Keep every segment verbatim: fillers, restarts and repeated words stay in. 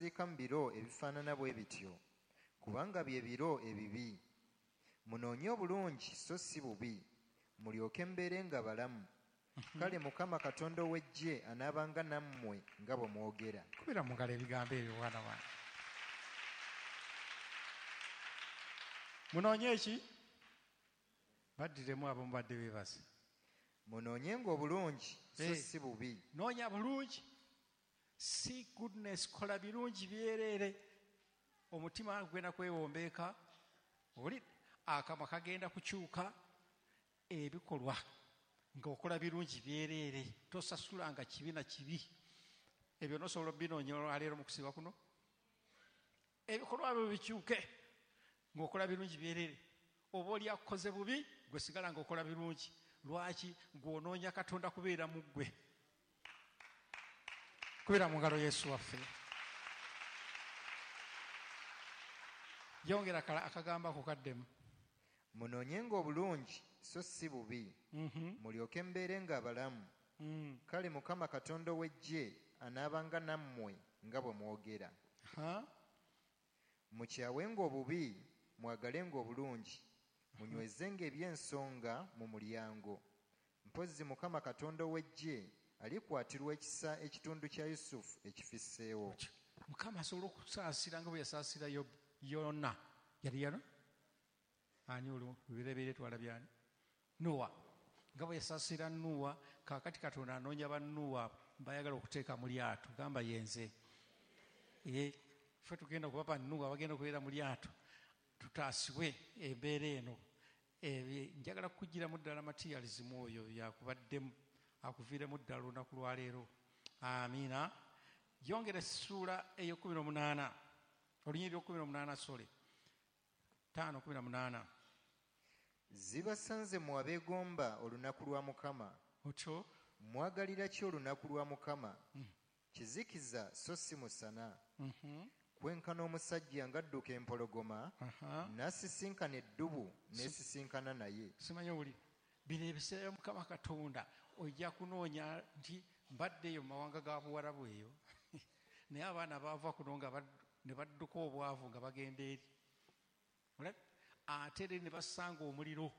musirika mu biro ebifaanana bwe bityo, kubanga bye biro ebibi. Munoonye obulungi so si bubi, mulyoke mbeere nga balamu. Kale Mukama Katonda ow'eggye anaabanga nammwe nga bwe mwogera. Kubira mu ngalo ebigambo ebyo mwana wange. Munoonye ki? Baddiremu abo mubadde beebase. Munoonyenga obulungi so si bubi. Noonya bulungi. See goodness, kola birungi byereere. Omutima gugenda kwewombeeka, oli akamwa kagenda kukyuka, ebikolwa ng'okola birungi byereere, tosasulanga kibi na kibi. Ebyo n'osobola obinoonya olwaleero mu kusiba kuno. Ebikolwa byo bikyuke ng'okola birungi byereere. Oba oli akukoze bubi, gwe sigala ng'okola birungi. Lwaki? Gw'onoonya Katonda kubeera mu ggwe. Kubira mu ngalo Yesu waffe. Yongera akagamba ako kaddemu. Munoonyenga obulungi so si bubi, mulyoke mbeere nga abalamu. Kale Mukama Katonda ow'eggye anaabanga nammwe nga bwe mwogera. Mukyawenga obubi, mwagalenga obulungi, munywezenga eby'ensonga mu mulyango. Mpozzi Mukama Katonda ow'eggye alikwatirwa ekisa ekitundu kya Yusufu ekifisseewo. Mukama asobola okusaasira nga bwe yasaasira Yona. Yali Yona? Ani olwo lubereberye twalabye ani? Nowa. Nga bwe yasaasira Nuwa, kaakati Katonda anoonya ba Nuwa bayagala okuteeka mu lyato. Gamba yenze. Ye ffe tugenda kuba ba Nuwa bagenda okubeera mu lyato. Tutaasibwe embeera eno. Njagala kukuggyiramu ddala materialism oyo yakubaddemu, akuviiremu ddala olunaku lwaleero. Amiina. Yongera essuula ey'ekkumi n'omunaana, olunyiriri lw'ekkumi n'omunaana, sole ttaano kkumi na munaana. Zibasanze mmwe abeegomba olunaku lwa Mukama. Otyo. Mwagalira ki olunaku lwa Mukama? Kizikiza so si musana. Kwenkana omusajja ng'adduka empologoma, n'asisinkana eddubu n'esisinkana naye. Simanyi owulira. Bino ebiseera bya Mukama Katonda ojja kunoonya nti mbadde eyo mu mawanga ga Buwarabu eyo. Naye abaana baava kuno nga ne badduka obwavu nga bagenda eri. Ate eri ne basanga omuliro.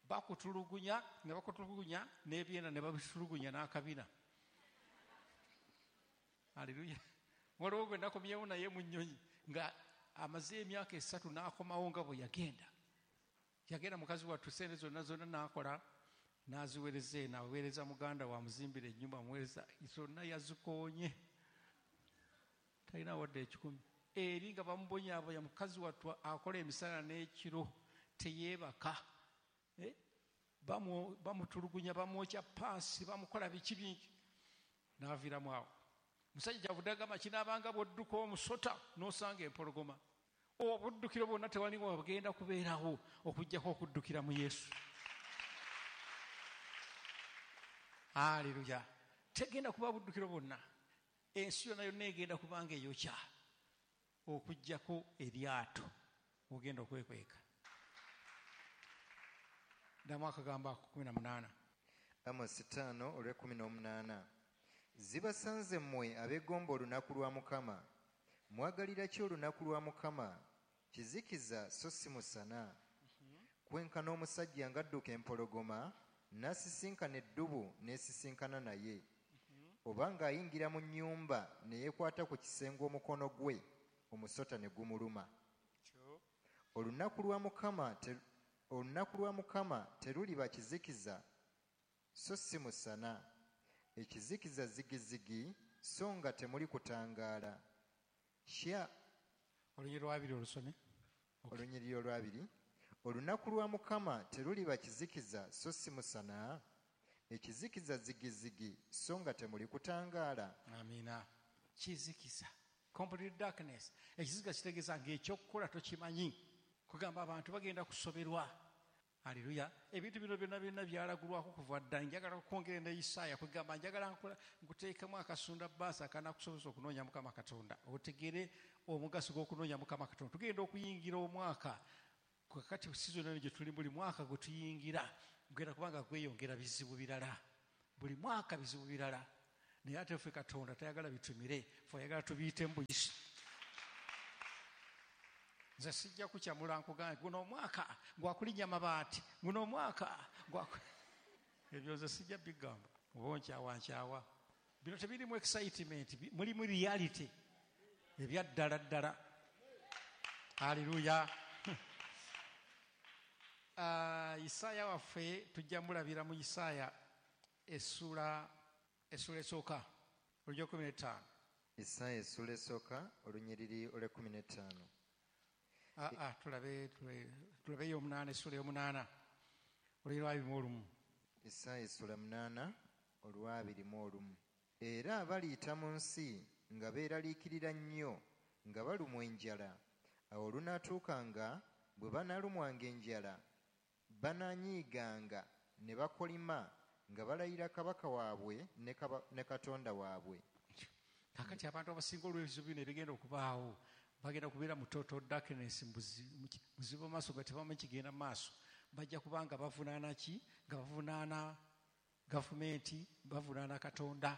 Bakutulugunya ne bakutulugunya n'ebyenda ne babitulugunya n'akabina. Haleluya. Waliwo gwe nakomyewo naye mu nnyonyi nga amaze emyaka esatu n'akomawo nga bwe yagenda. Yagenda mukazi wattu ssente zonna zonna n'akola n'aziweereza eno, aweereza muganda we amuzimbira ennyumba, amuweereza zonna yazikoonye. Talina wadde ekikumi. Eri nga bamubonyaabonya mukazi wattu akola emisana n'ekiro teyeebaka. Bamutulugunya, bamwokya paasi, bamukola biki bingi. N'aviiramu awo. Musajja kyavudde agamba kinaabanga bw'odduka omusota n'osanga empologoma. Obuddukiro bwonna tewali wagenda kubeerawo okuggyako okuddukira mu Yesu. Haleluya. Tegenda kuba buddukiro bwonna. Ensi yonna yonna egenda kubanga eyokya okuggyako eryato ogenda okwekweka. Ddamu akagambo ako kkumi na munaana. Amosi ttaano olw'ekkumi n'omunaana. Zibasanze mmwe abeegomba olunaku lwa Mukama. Mwagalira ki olunaku lwa Mukama? Kizikiza so si musana. Kwenkana omusajja ng'adduka empologoma, n'asisinkana eddubu n'esisinkana naye. Oba ng'ayingira mu nnyumba ne yeekwata ku kisenge omukono gwe, omusota ne gumuluma. Olunaku lwa Mukama olunaku lwa Mukama teruliba kizikiza so si musana. Ekizikiza zigizigi so nga temuli kutangaala. Kya olunyiriri lwabiri olusome. Olunyiriri olwabiri. Olunaku lwa Mukama teruliba kizikiza so si musana. Ekizikiza zigizigi so nga temuli kutangaala. Amiina. Kizikiza, complete darkness. Ekizikiza kitegeeza ng'ekyokukola tokimanyi. Kugamba abantu bagenda kusoberwa. Haleluya. Ebintu bino byonna byonna byalagulwako kuva dda. Njagala okwongera ne Isaaya kugamba njagala nkuteekemu akasunda bbaasa akanaakusobozesa okunoonya Mukama Katonda. Otegere omugaso gw'okunoonya Mukama Katonda. Tugenda okuyingira omwaka. Kakati season eno gye tuli buli mwaka gwe tuyingira gugenda kubanga gweyongera bizibu birala. Buli mwaka bizibu birala. Naye ate ffe Katonda tayagala bitumire, ffe ayagala tubiyitemu buyisi. Nze sijja kukyamula nkugambe guno omwaka gwakulinnya mabaati, guno omwaka gwaku ebyo nze sijja bigamba, oba nkyawa nkyawa. Bino tebirimu excitement, mulimu reality ebya ddala ddala. Haleluya. Uh, Isaaya waffe tujja mulabira mu Isaaya essuula essuula esooka olw'ekkumi n'ettaano. Isaaya essuula esooka olunyiriri olw'ekkumi n'ettaano. Ah, ah, tulabe tulabe ey'omunaana, essuula ey'omunaana olunyiriri lwa abiri mu olumu. Isaaya essuula munaana olw'abiri mu olumu. Era baliyita mu nsi nga beeraliikirira nnyo nga balumwa enjala. Awo olunaatuukanga bwe banaalumwanga enjala banaanyiiganga ne bakolima nga balayira kabaka waabwe ne Katonda waabwe. Kakati abantu abasinga olw'ebizibu bino ebigenda okubaawo bagenda kubeera mu total darkness, muzibu maaso nga tebamanyi kigenda maaso. Bajja kuba nga bavunaana ki? Nga bavunaana gavumenti, bavunaana Katonda.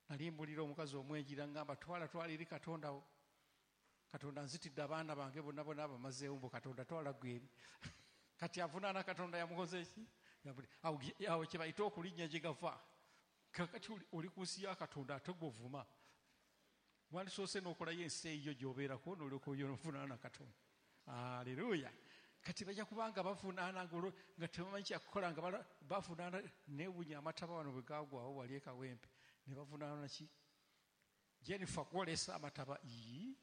Nali mbulira omukazi omwenjira ngamba twala twala eri Katonda wo. Katonda nzitidde abaana bange bonna bonna abamazeewo mbu Katonda twala gwe eri. Kati avunaana Katonda yamukoze ki? Awo kye bayita okulinnya gye gava. Kakati oli ku nsi ya Katonda ate gw'ovuma. Wandisoose n'okolayo ensi eyo gy'obeerako n'olyoka ovunaana Katonda. Haleluya. Kati bajja kubanga bavunaana nga tebamanyi kyakukola nga bavunaana. Neewuunya amataba wano bwe gaagwawo wali e Kawempe ne bavunaana ki? Jennifer kwolesa amataba. Ii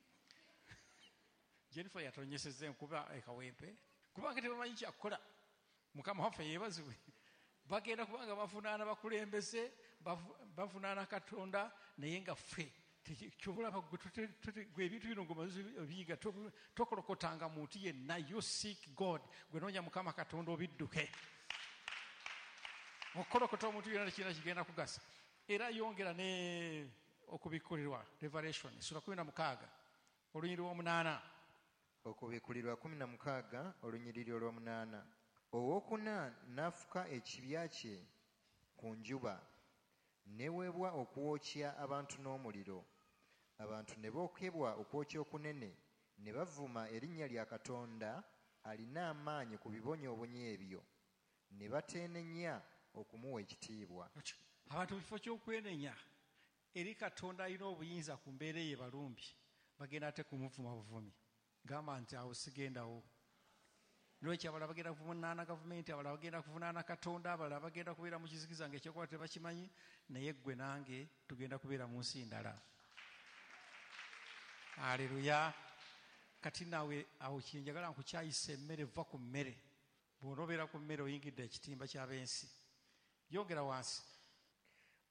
Jennifer yatonyesezza enkuba e Kawempe kubanga tebamanyi kyakukola. Mukama waffe yeebazibwe. Bagenda kubanga bavunaana bakulembeze, bavunaana Katonda, naye nga ffe kyobulaba gwe ebintu bino ng'omaze obiyiga tokolokotanga muntu yenna. You seek God, gwe noonya Mukama Katonda obidduke. Okukolokota omuntu yenna tekirina kigenda kugasa. Era yongera ne okubikkulirwa Revelation sura kumi na mukaaga olunyiriri lw'omunaana. Okubikkulirwa kumi na mukaaga olunyiriri olw'omunaana. Owookuna n'afuka ekibya kye ku njuba neweebwa okwokya abantu n'omuliro. Abantu ne bookebwa okwokya okunene ne bavuma erinnya lya Katonda alina amaanyi ku bibonyoobonyo ebyo ne bateenenya okumuwa ekitiibwa. Abantu mu kifo ky'okwenenya eri Katonda alina obuyinza ku mbeera eyo balumbi bagenda ate kumuvuma buvumi. Gamba nti awo sigendawo. Lwekyo abalala bagenda kuvunaana gavumenti, abalala bagenda kuvunaana Katonda, abalala bagenda kubeera mu kizikiza ng'ekyokukola tebakimanyi, naye ggwe nange tugenda kubeera mu nsi ndala. Haleluya. Kati naawe awo kye njagala nkukyayisa emmere, vva ku mmere. Bw'onoobeera ku mmere oyingidde ekitimba ky'ab'ensi. Yongera wansi.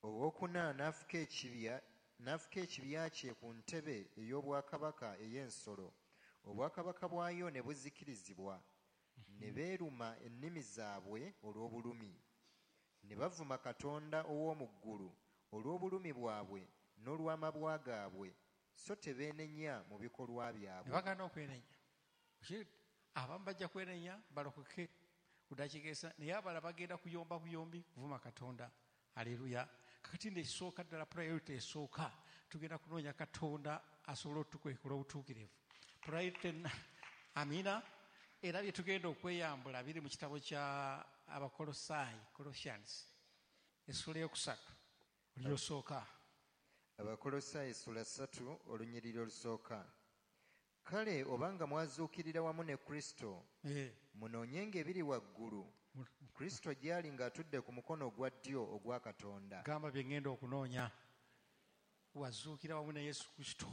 Owookuna n'afuka ekibya n'afuka ekibya kye ku ntebe ey'obwakabaka ey'ensolo. Obwakabaka bwayo ne buzikirizibwa. Ne beeruma ennimi zaabwe olw'obulumi. Ne bavuma Katonda ow'omu ggulu olw'obulumi bwabwe n'olw'amabwa gaabwe, so tebeenenya mu bikolwa byabwe. Ne bagaana okwenenya. Abamu bajja kwenenya balokoke ku ddakiika esa, naye abalala bagenda kuyomba buyombi kuvuma Katonda. Haleluya. Kakati nno esooka ddala priority esooka tugenda kunoonya Katonda asobole otukwekula obutuukirivu. Priority amina. Era bye tugenda okweyambula biri mu kitabo kya Abakolosaayi, Colossians, essuula eyokusatu olyosooka. Abakolosaayi essula ssatu olunyiriri olusooka. Kale obanga mwazuukirira wamu ne Kristo, munoonyenga ebiri waggulu, Kristo gy'ali ng'atudde ku mukono ogwa ddyo ogwa Katonda. Gamba bye ŋŋenda okunoonya. Wazuukira wamu ne Yesu Kristo.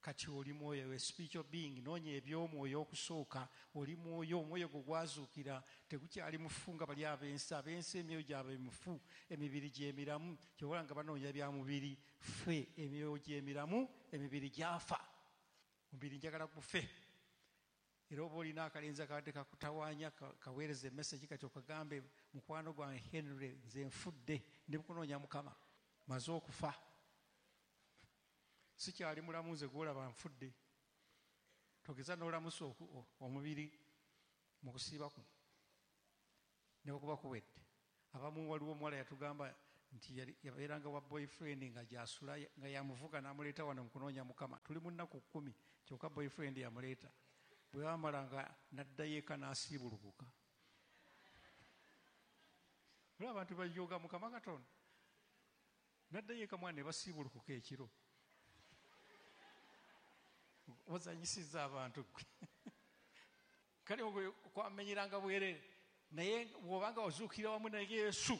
Kati oli mwoyo, spiritual being, noonya eby'omwoyo okusooka. Oli mwoyo, omwoyo gwo gwazuukira, tegukyali mufu nga bali ab'ensi. Ab'ensi emyoyo gyabwe mifu, emibiri gy'emiramu. Ky'obola nga banoonya bya mubiri, ffe emyoyo gy'emiramu, emibiri gyafa. Omubiri njagala gufe. Era oba olina akalenzi akabadde kakutawaanya kaweereza emessage kati okagambe mukwano gwange Henry, nze nfudde, ndi mukunoonya Mukama, maze okufa. Sikyali mulamu nze gw'olaba nfudde. Togeza n'olamusa omubiri mu kusiiba kuno ne bwe kuba kuwedde. Abamu waliwo omuwala yatugamba nti yabeeranga wa boyfriend nga gyasula nga yamuvuga n'amuleeta wano mukunoonya Mukama. Tuli mu nnaku kkumi kyokka boyfriend yamuleeta. Bwe bamala nga n'addayo eka n'asiibulukuka. Olaba abantu bajooga Mukama Katonda. N'addayo eka mwana ne basiibulukuka ekiro. Ozanyisizza abantu. Kale kwamenyeranga bwerere. Naye bw'obanga ozuukira wamu ne Yesu,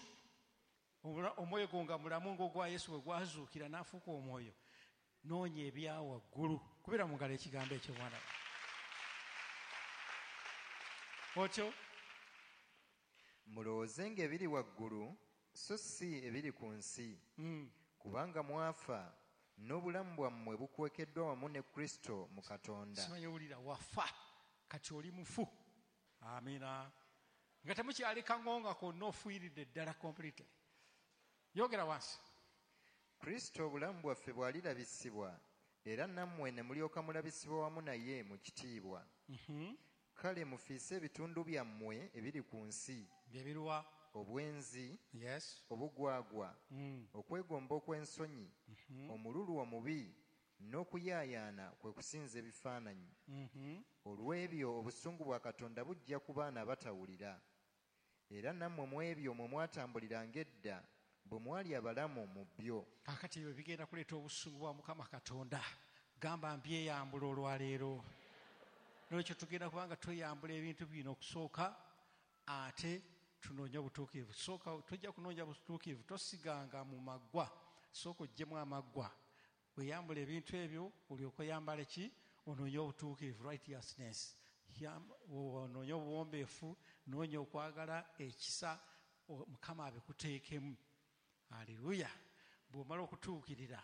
omwoyo gwo nga mulamu ng'ogwa Yesu bwe gwazuukira n'afuuka omwoyo, noonya ebya waggulu. Kubira mu ngalo ekigambo ekyo mwana. Otyo mulowoozenga ebiri waggulu so si ebiri ku nsi, kubanga mwafa n'obulamu bwammwe bukwekeddwa wamu ne Kristo mu Katonda. Simanyi owulira wafa kati oli mufu. Amiina. Nga temukyali kangonga konna ofuyiridde ddala completely. Yogera wansi. Kristo obulamu bwaffe bw'alirabisibwa era nammwe ne mulyoka mulabisibwa wamu naye mu kitiibwa. Kale mufiise ebitundu byammwe ebiri ku nsi. Byebiruwa? Obwenzi, yes, obugwagwa, mm. okwegomba okw'ensonyi, mm -hmm. omululu omubi, n'okuyaayaana kwe kusinza ebifaananyi. Mm -hmm. Olw'ebyo obusungu bwa Katonda bujja ku baana abatawulira. Era nammwe mu ebyo mwe mwatambuliranga edda bwe mwali abalamu mu byo. Kaakati ebyo bigenda kuleeta obusungu bwa Mukama Katonda. Gamba mbyeyambula olwaleero. N'olwekyo tugenda kubanga tweyambula ebintu bino okusooka ate tunoonye obutuukirivu. Sooka tojja kunoonya butuukirivu, tosiganga mu maggwa. Sooka oggyemu amaggwa. Weyambula ebintu ebyo olyoke oyambale ki? Onoonye obutuukirivu, righteousness. Onoonye obuwombeefu, noonya okwagala, ekisa, Mukama abikuteekemu. Haleluya. Bw'omala okutuukirira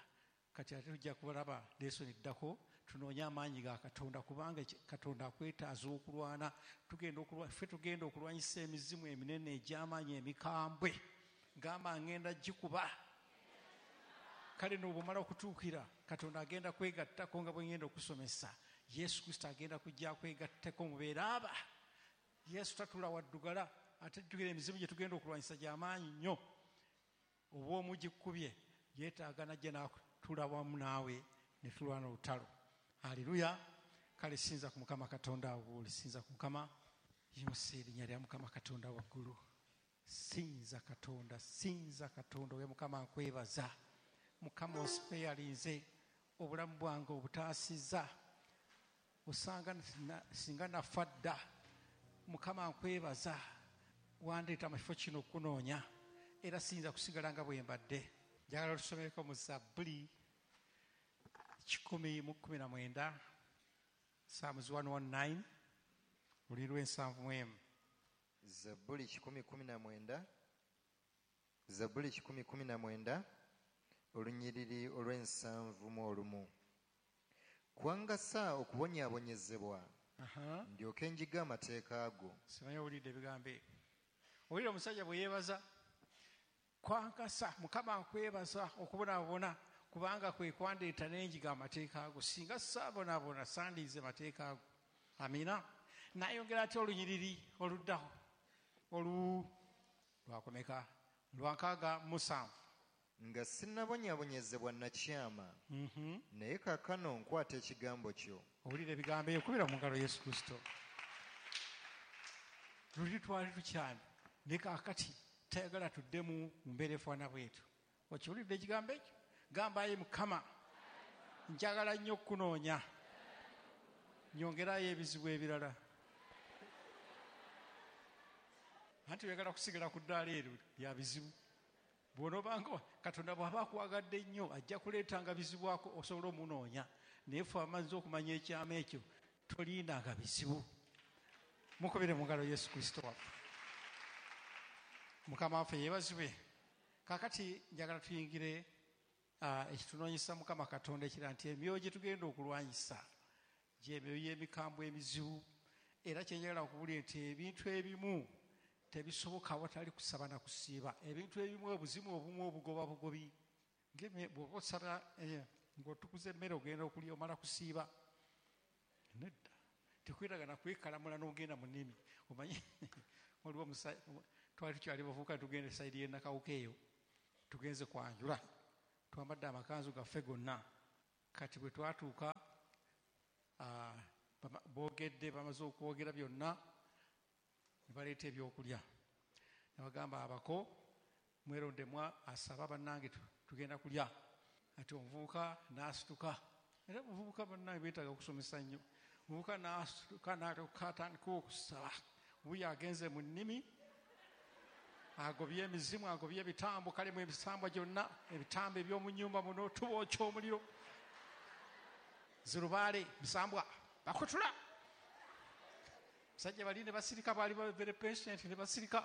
kati ate tujja kulaba lesoni eddako tunoonye amaanyi ga Katonda, kubanga Katonda akwetaaza okulwana. Tugenda okulwa ffe tugenda okulwanyisa emizimu eminene egy'amaanyi emikambwe. Gamba ngenda gikuba. Kale n'obwomala okutuukira Katonda agenda kwegattako nga bwe ngenda okusomesa. Yesu Kristo agenda kujja kwegattako mubeere aba. Yesu tatula waddugala ate jjukira emizimu gye tugenda okulwanyisa gy'amaanyi nnyo. Oba omugikubye yeetaaga najja n'atula wamu naawe ne tulwana olutalo. Haleluya. Kale sinza ku Mukama Katonda awo, sinza ku Mukama. Yimusa erinnya lya Mukama Katonda waggulu. Sinza Katonda, sinza Katonda. Oyo Mukama nkwebaza. Mukama osipeyalinze obulamu bwange obutaasizza. Osanga singa nafa dda. Mukama nkwebaza wandeeta mu kifo kino okunoonya era siyinza kusigala nga bwe mbadde. Njagala otusomereko mu Zabbuli kikumi mu kkumi na mwenda, Psalms one nineteen, luli lw'ensanvu mu emu. Zabbuli kikumi kumi na mwenda, Zabbuli kikumi kumi na mwenda, olunyiriri olw'ensanvu mu olumu. Kwangasa okubonyaabonyezebwa, ndyoke njiga amateeka go. Simanyi owulidde ebigambo ebyo. Owulira omusajja bwe yeebaza, kwankasa Mukama nkwebaza okubonaabona kubanga kwe kwandeeta n'enjiga amateeka ago. Singa saabonaabona sandiize mateeka ago. Amiina. N'ayongera atya olunyiriri oluddaho olu lwakomeka lwa nkaaga musanvu. Nga sinnabonyaabonyezebwa nakyama, naye kaakano nkwata ekigambo kyo. Owulira ebigambo ebyo, kubira mu ngalo Yesu Kristo. Luli twali tukyamye naye kaakati tayagala tuddemu mu mbeera efaanana bwetyo. Okiwulidde ekigambo ekyo? Gamba ayi Mukama, njagala nnyo okukunoonya, nyongerayo ebizibu ebirala. Anti oyagala kusigala ku ddaala eryo lya bizibu. Bw'onoobanga Katonda bw'aba akwagadde nnyo ajja kuleetanga bizibu ako osobole omunoonya. Naye ffe amazzi okumanya ekyama ekyo tolindanga bizibu. Mukubire mu ngalo Yesu Kristo waffe. Mukama waffe yeebazibwe. Kaakati njagala tuyingire ekitunoonyesa Mukama Katonda ekira nti emyoyo gye tugenda okulwanyisa gy'emyoyo y'emikambwe emizibu. Era kye njagala okubuulira nti ebintu ebimu tebisoboka awatali kusaba na kusiiba. Ebintu ebimu obuzimu obumu obugoba bugobi. Bw'oba osaba ng'otukuza emmere ogenda okulya omala kusiiba. Nedda. Tekwetaaga na kwekalamula n'ogenda mu nnimi. Omanyi waliwo twali tukyali bavubuka tugenda esayidi y'e Nakawuka eyo. Tugenze kwanjula, twambadde amakanzu gaffe gonna. Kati bwe twatuuka, boogedde, bamaze okwogera byonna, ne baleeta ebyokulya. Ne bagamba abako mwerondemwa asaba bannange tugenda kulya. Ati omuvubuka n'asituka. Era omuvubuka bannange beetaaga okusomesa nnyo. Omuvubuka n'asituka n'atuuka atandika okusaba. Wuuyo agenze mu nnimi, agobye emizimu, agobye ebitambo, kale mu ebisambwa gyonna, ebitambo eby'omu nnyumba muno tubookya omuliro. Zirubaale, bisambwa, bakutula. Basajja bali ne basirika, baali ba very patient ne basirika.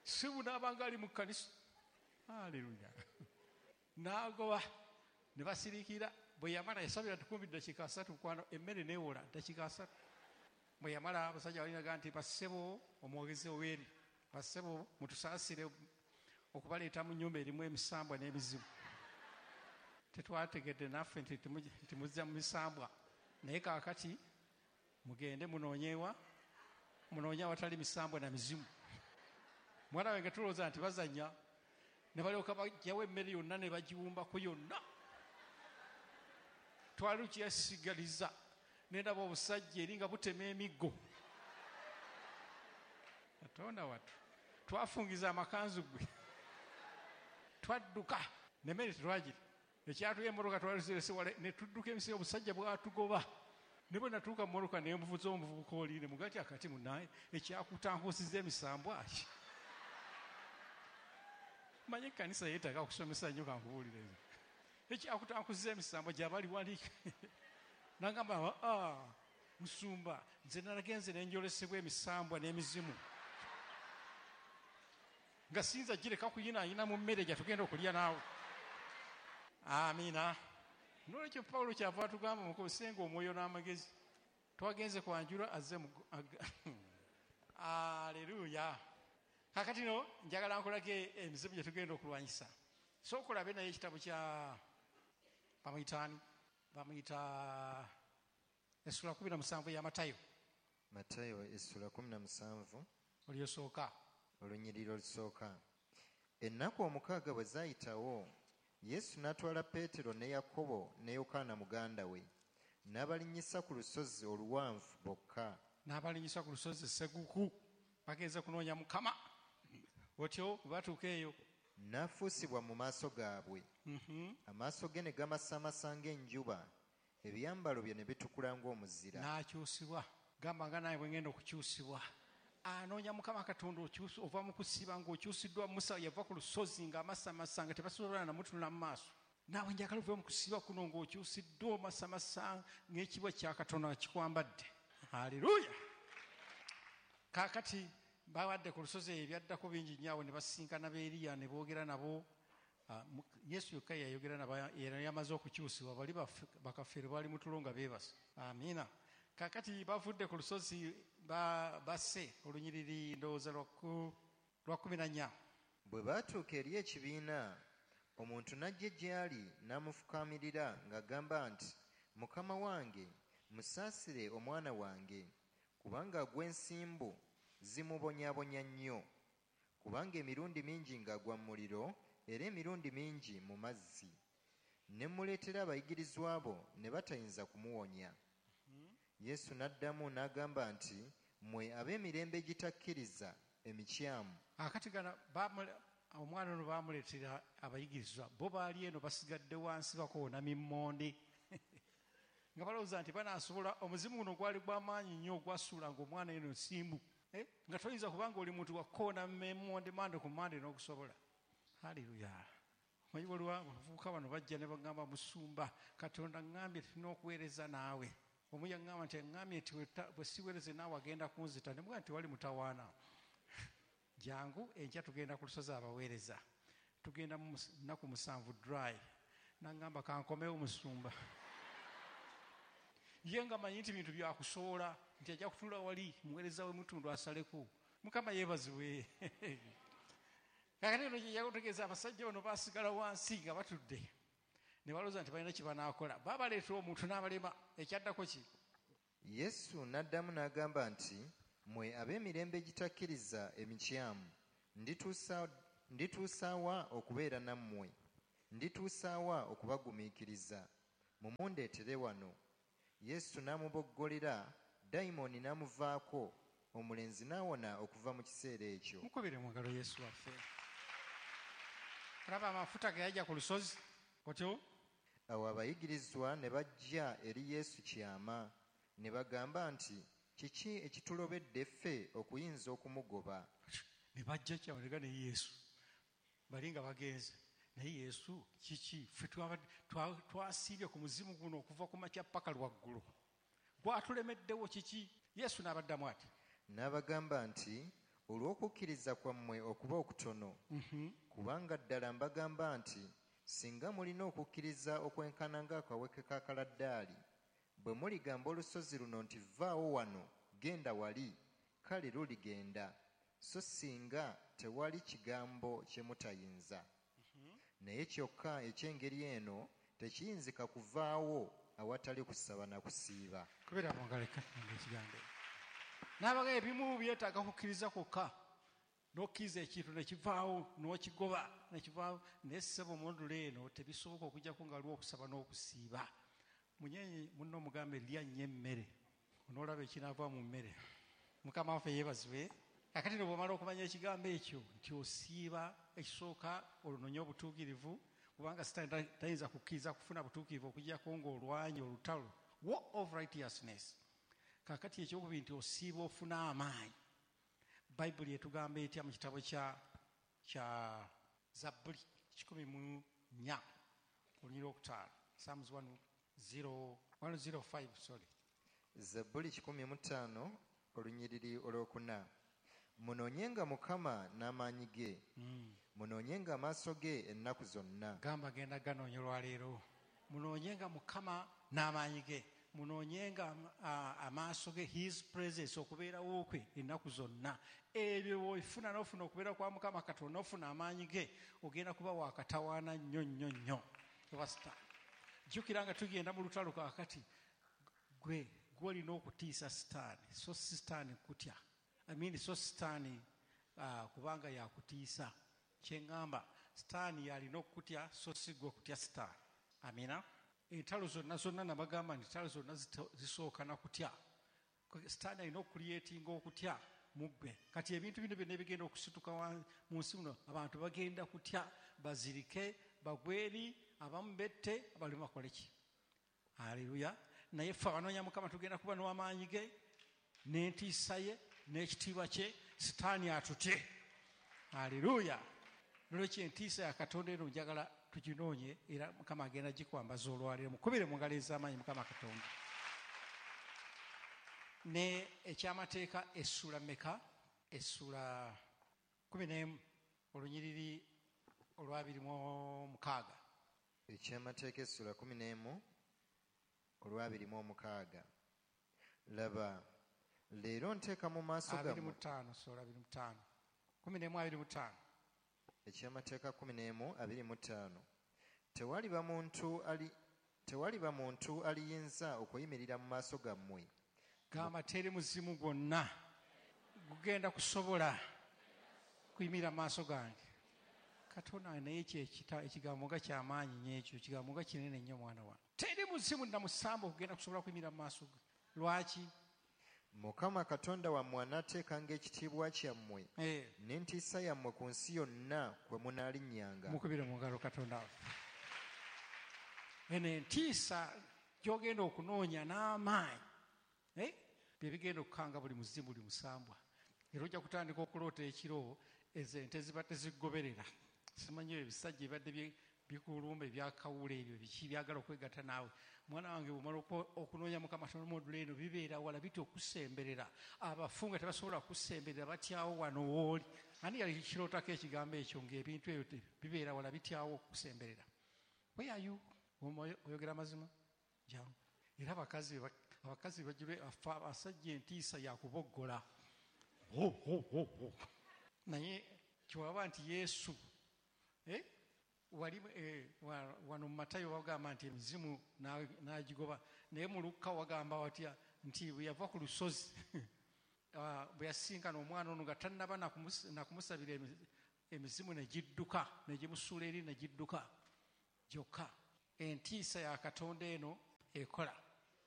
Si bunaabanga ali mu kkanisa. Haleluya. N'agoba ne basirikira. Bwe yamala yasabira tukumbi ddakiika asatu kwano emmere n'ewola ddakiika asatu. Bwe yamala abasajja balinaga nti bassebo omwogezi oweeri, bassebo mutusaasire okubaleeta mu nnyumba erimu emisambwa n'emizimu. Tetwategedde naffe nti muzza mu misambwa, naye kaakati mugende munoonyewa, munoonye awatali misambwa na mizimu. Mwana wange tulowooza nti bazannya, ne balyoka baggyawo emmere yonna ne bagiwumbako yonna. Twali tukiyasigaliza, ne ndaba obusajja eri nga butema emiggo. Katonda wattu, twafungiza amakanzu gwe, twadduka n'emmere tetwagirya. Ekyatuya emmotoka twalizirese wala, ne tudduka emisi, obusajja bwatugoba. Ne bwe natuuka mu mmotoka ne nvuza omuvubuka oli, ne mugamba nti akati munnaye ekyakutankuusiza emisambwa ki? Manye ekkanisa yeetaaga okusomesa nnyo, kankubuulire nze. Ekyakutankusiza emisambwa gy'abali wali. N'agamba, ah, musumba, nze nalagenze ne njolesebwa emisambwa n'emizimu. Nga siyinza gireka kuyinaayina mu mmere gye tugenda okulya naawe. Amiina. Noolwekyo Pawulo kyava atugamba mukozesenga omwoyo n'amagezi. Twagenze kwanjula azze mu Aleluya. Kaakati no njagala nkulage emizimu gye tugenda okulwanyisa. Sooka olabe naye ekitabo kya bamuyita ani? Bamuyita essula kumi na musanvu ya Matayo. Matayo essula kumi na musanvu. Olyosooka. Olunyiriri olusooka. Ennaku omukaaga bwe zaayitawo, Yesu n'atwala Peetero ne Yakobo ne Yokaana muganda we, n'abalinnyisa ku lusozi oluwanvu bokka. N'abalinnyisa ku lusozi Sseguku, bagenze kunoonya Mukama. Otyo batuuka eyo. N'afuusibwa mu maaso gaabwe. Amaaso ge ne gamasamasa ng'enjuba, ebyambalo bye ne bitukula ng'omuzira. N'akyusibwa. Gamba nga naye bwe ngenda okukyusibwa. Anoonya Mukama Katonda okyusa, ova mu kusiba ng'okyusiddwa. Musa yava ku lusozi ng'amasamasa nga tebasobola namutunula mu maaso. Naawe njagala ove mu kusiba kuno ng'okyusiddwa omasamasa ng'ekibwa kya Katonda kikwambadde. Haleluya. Kaakati babadde ku lusozi ebyaddako bingi nnyo awo ne basinkana b'Eriya ne boogera nabo. Yesu yokka yayogera nabo, era yamaze okukyusibwa, bali bakafeero baali mu tulo nga beebase. Amiina. Kaakati bavudde ku lusozi basse olunyiriri ndowooza lwa kumi na nnya. Bwe baatuuka eri ekibiina, omuntu n'ajja gy'ali n'amufukaamirira ng'agamba nti, Mukama wange, musaasire omwana wange, kubanga agwa ensimbu zimubonyaabonya nnyo, kubanga emirundi mingi ng'agwa mu muliro era emirundi mingi mu mazzi. Ne mmuleetera abayigirizwa bo ne batayinza kumuwonya. Yesu n'addamu n'agamba nti, mmwe ab'emirembe egitakkiriza emikyamu. Akati gano omwana ono baamuleetera abayigirizwa, bo baali eno basigadde wansi bakoona mimmonde. Nga balowooza nti banaasobola, omuzimu guno gwali gw'amaanyi nnyo ogwasuulanga omwana eno nsimbu. Nga toyinza kubanga oli muntu wakoona memmonde mande ku mande n'okusobola. Haleluya. Omanyi waliwo abavubuka bano bajja ne bagamba, musumba, Katonda ŋŋambye tulina okuweereza naawe. Omu yaŋŋamba nti aŋŋambye nti bwe siweereze naawe agenda kunzita. Ne mugamba nti wali mutawaana. Jangu enkya tugenda ku lusozi abaweereza. Tugenda mu nnaku musanvu dry. N'aŋŋamba kankomewo musumba. Ye nga manyi nti bintu byakusoola, nti ajja kutuula wali muweereza we mutundu asaleko. Mukama yeebazibwe. Kaakati eno kye yakutegeeza, abasajja bano baasigala wansi nga batudde. Ne balowooza nti balina kye banaakola. Baabaleetera omuntu n'abalema. Ekyaddako ki? Yesu n'addamu n'agamba nti, mmwe ab'emirembe egitakkiriza emikyamu, ndituusa Ndituusa wa okubeera nammwe? Ndituusa wa okubagumiikiriza? Mumundeetere wano. Yesu n'amuboggolera, dayimooni n'amuvaako, omulenzi n'awona okuva mu kiseera ekyo. Mukubire mu ngalo Yesu waffe. Olaba amafuta ge yajja ku lusozi otyo. Awo abayigirizwa ne bajja eri Yesu kyama ne bagamba nti, kiki ekitulobedde ffe okuyinza okumugoba? Ne bajja kyama ne Yesu bali nga bagenze, naye Yesu kiki ffe twasiibye ku muzimu guno okuva ku makya paka lwaggulo, gwatulemeddewo kiki? Yesu n'abaddamu ati, n'abagamba nti, olw'okukkiriza kwammwe okuba okutono, kubanga ddala mbagamba nti singa mulina okukkiriza okwenkana ng'akaweke ka kaladdaali, bwe muligamba olusozi luno nti vvaawo wano genda wali, kale luligenda, so singa tewali kigambo kye mutayinza. Naye kyokka eky'engeri eno tekiyinzika kuvaawo awatali kusaba na kusiiba. Kubera mu ngalo ekigambo. N'abagamba ebimu byetaaga kukkiriza kwokka, n'okkiriza ekintu ne kivaawo n'okigoba ne kivaawo, naye ssebo mu eno tebisoboka okujjako nga waliwo okusaba n'okusiiba. Munyenye munno omugambe lya nnyo emmere, onoolaba ekinaava mu mmere. Mukama waffe yeebazibwe. Kakati no bw'omala okumanya ekigambo ekyo nti osiiba, ekisooka olunonye obutuukirivu, kubanga Sitaani tayinza kukkiriza kufuna butuukirivu okujjako ng'olwanye olutalo, war of righteousness. Kakati ekyokubiri nti osiiba ofuna amaanyi. Bayibuli etugamba etya mu kitabo kya kya Zabbuli kikumi mu nnya olunyiriri olwokutaano, Psalms one zero, one zero five, sorry. Zabbuli kikumi mu ttaano olunyiriri olwokuna. Munoonyenga Mukama n'amaanyi ge, mm. munoonyenga amaaso ge ennaku zonna. Gamba genda ganoonya olwaleero. Munoonyenga Mukama n'amaanyi ge, munoonyenga amaaso ge, his presence, okubeerawo kwe ennaku zonna. Ebyo bw'ofuna n'ofuna okubeera kwa Mukama Katonda, n'ofuna amaanyi ge, ogenda kuba wakatawaana nnyo nnyo nnyo. Jjukira nga tugenda mu lutalo kaakati, gwe gw'olina okutiisa Sitaani, so si Sitaani kutya. I mean, so Sitaani uh, kubanga yakutiisa. Kye ŋŋamba, Sitaani yalina okukutya, so si gwe okutya Sitaani. Amina. Entalo zonna zonna nabagamba nti entalo zonna zisooka na kutya. Sitaani alina okuliyeetinga okutya mu ggwe. Kati ebintu bino byonna ebigenda okusituka mu nsi muno, abantu bagenda kutya, bazirike, bagweri, abamu bette, abalimu bakole ki? Haleluya. Naye ffe abanoonya Mukama tugenda kuba n'amaanyi ge, n'entiisa ye, n'ekitiibwa kye, Sitaani atutye. Haleluya. Nolwekyo entiisa ya Katonda eno njagala tuginoonye, era Mukama agenda gikwambaza olwaleero. Mukubire mu ngalo ez'amaanyi Mukama Katonda. Ne ekyamateeka essuula mmeka? Essuula kumi n'emu olunyiriri olw'abiri mu mukaaga. Ekyamateeka essuula kumi n'emu olw'abiri mu omukaaga. Laba, leero nteeka mu maaso gammwe. Abiri mu ttaano, sorry, abiri mu ttaano. Kumi n'emu abiri mu ttaano. Ekyamateeka kumi n'emu abiri mu ttaano. Tewaliba muntu ali tewaliba muntu aliyinza okuyimirira mu maaso gammwe. Gamba teri muzimu gwonna gugenda kusobola kuyimirira mu maaso gange. Katonda naye ekyo ekigambo nga kyamaanyi nnyo, ekyo ekigambo nga kinene nnyo mwana wange. Teri muzimu namusamba okugenda kusobola kuyimirira mu maaso ge. Lwaki? Mukama Katonda wammwe anaateekanga ekitiibwa kyammwe n'entiisa yammwe ku nsi yonna kwe munaalinnyanga. Mukubire mu ngalo Katonda waffe. Eno entiisa gy'ogenda okunoonya n'amaanyi bye bigenda okukanga buli muzimu buli musambwa. Era ojja kutandika okuloota ekiro ezo ente ziba tezigoberera. Simanyi ebisajja ebibadde bikulumba ebyakawula ebyo biki byagala okwegatta naawe. Mwana wange bw'omala okunoonya Mukama Katonda eno bibeera wala bitya okusemberera. Abafu nga tebasobola kusemberera batyawo wano w'oli. Ani yali kirootako ekigambo ekyo ng'ebintu ebyo bibeera wala bityawo okusemberera? Where are you? Oyogera amazima? Jangu. Era abakazi abakazi bajjule abasajja entiisa yakuboggola. Ho ho ho ho. Naye kyewaba nti Yesu eh wali eh, wano mu Matayo wagamba nti emizimu n'agigoba, naye mu Lukka wagamba watya nti bwe yava ku lusozi bwe yasinkana omwana ono nga tannaba nakumusabira Emizimu ne gidduka, ne gimusuula eri ne gidduka gyokka. Entiisa ya Katonda eno ekola.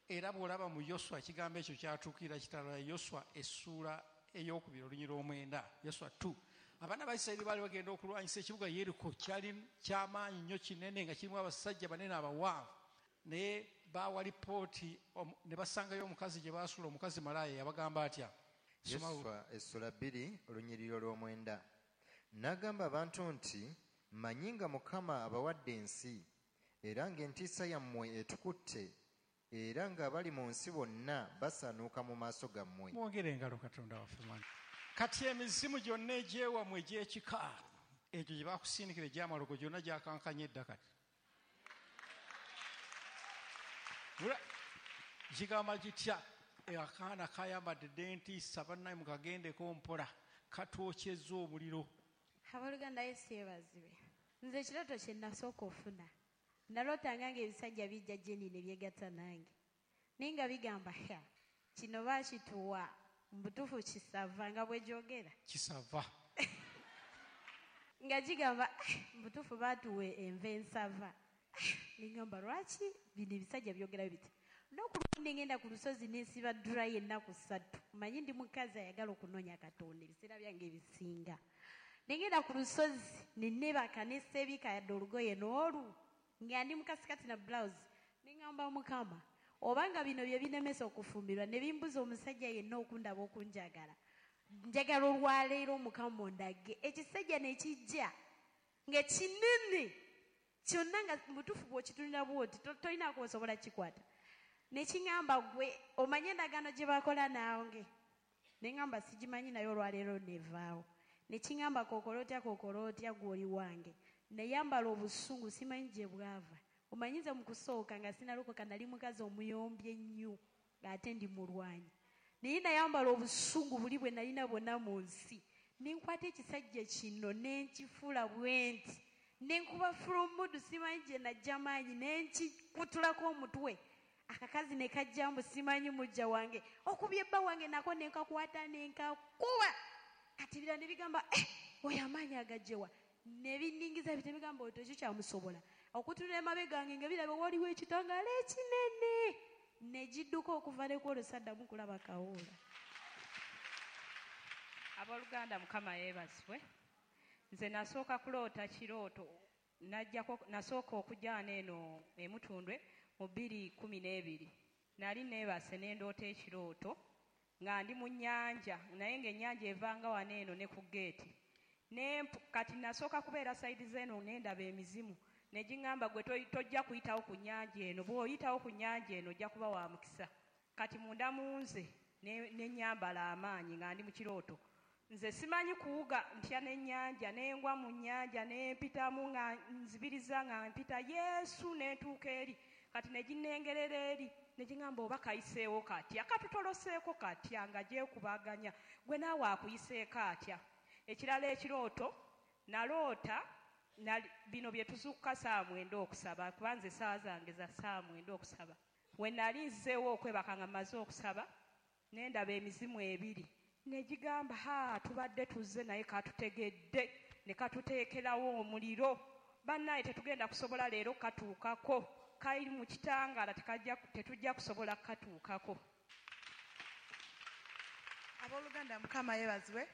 Era bw'olaba mu Yoswa ekigambo ekyo kyatuukirira kitalo ya Yoswa essuula ey'okubiri olunyiriri olw'omwenda, Yoswa two. Abaana ba Isirayiri baali bagenda okulwanyisa ekibuga Yeriko, kyali kyamaanyi nnyo kinene nga kirimu abasajja banene abawanvu. Naye baawa lipooti ne basangayo omukazi gye baasuula, omukazi malaaya. Yabagamba atya? Yoswa essula bbiri olunyiriri olw'omwenda. N'agamba abantu nti, mmanyi nga Mukama abawadde ensi, era ng'entiisa yammwe etukutte, era ng'abali mu nsi bonna basaanuuka mu maaso gammwe. Mwongere engalo Katonda waffe mwana. Kati emizimu gyonna egyewammwe egy'ekika egyo gye bakusindikira egy'amalogo gyonna gyakankanye edda kati. Gigamba gitya? Akaana kayambadde dda entiisa, bannaye mukagendeko mpola, katwokyezza omuliro. Abooluganda, Yesu yeebazibwe. Nze ekirooto kye nasooka ofuna, nalootanga ng'ebisajja bijja gye ndi ne byegatta nange, naye nga bigamba, ha, kino baakituwa mu butuufu kisava, nga bwe gyogera kisava nga gigamba mu butuufu baatuwa enva ensava. Nengamba lwaki bino ebisajja byogera biti? N'okulundi ngenda ku lusozi nensiba dry ennaku ssatu. Manyi ndi mukazi ayagala okunoonya Katonda ebiseera byange ebisinga. Nengenda ku lusozi ne neebaka ne seebika yadde olugoye n'olu, nga ndi mu kasikati na blouse. Nengamba Mukama, obanga bino bye binemesa okufumbirwa ne bimbuza omusajja yenna okundaba okunjagala, njagala olwaleero Mukama ondage. Ekisajja ne kijja nga kinene kyonna, nga mutuufu bw'okitunula bw'oti tolina kwosobola kikwata. Ne kiŋŋamba, gwe omanye endagaano gye bakola nange? Ne ŋŋamba sigimanyi, naye olwaleero nevaawo. Ne kiŋŋamba kokola otya, kokola otya, gw'oli wange. Nayambala obusungu simanyi gye bwava. Omanyi nze mu kusooka nga sinalokoka nali mukazi omuyombi ennyo ng'ate ndi mulwanyi. Naye nayambala obusungu buli bwe nalina bwonna mu nsi. Ne nkwata ekisajja kino ne nkifuula bwe nti. Ne nkuba fulumudu simanyi gye najja maanyi ne nkikutulako omutwe. Akakazi ne kajja mbu simanyi mujja wange. Okubye bba wange nako ne nkakwata ne nkakuba. Kati birala ne bigamba, eh, oyo amaanyi agajjewa. Ne binningiza bite bigamba otyo ekyo kyamusobola. Okutunula emabega gange nga biraba waliwo ekitangaala ekinene. Ne gidduka okuva ne ku olwo saddamu kulaba kawuula. Abooluganda, Mukama yeebazibwe. Nze nasooka kuloota kirooto, najjako nasooka okujja wano eno e Mutundwe mu bbiri kkumi n'ebiri. Nali neebase ne ndoota ekirooto nga ndi mu nnyanja, naye ng'ennyanja evanga wano eno ne ku geeti. Kati nasooka kubeera sayidi z'eno ne ndaba emizimu ne giŋŋamba, gwe tojja kuyitawo ku nnyanja eno, bw'oyitawo ku nnyanja eno ojja kuba wa mukisa. Kati munda mu nze ne nnyambala amaanyi nga ndi mu kirooto. Nze simanyi kuwuga ntya n'ennyanja, ne ngwa mu nnyanja ne mpitamu nga nzibiriza nga mpita Yesu ne ntuuka eri. Kati ne ginnengerera eri ne giŋŋamba oba kayiseewo katya, katutoloseeko katya, nga gyekubaganya, gwe naawe akuyiseeko atya. Ekirala ekirooto naloota bino bye tuzuukuka ssaawa mwenda okusaba, kuba nze essaawa zange za ssaawa mwenda okusaba. We nali nzizeewo okwebaka nga mmaze okusaba, ne ndaba emizimu ebiri ne gigamba, ha, tubadde tuzze naye katutegedde, ne katuteekerawo omuliro, bannaye tetugenda kusobola leero katuukako, kali mu kitangaala tetujja kusobola katuukako. Abooluganda, Mukama yeebazibwe.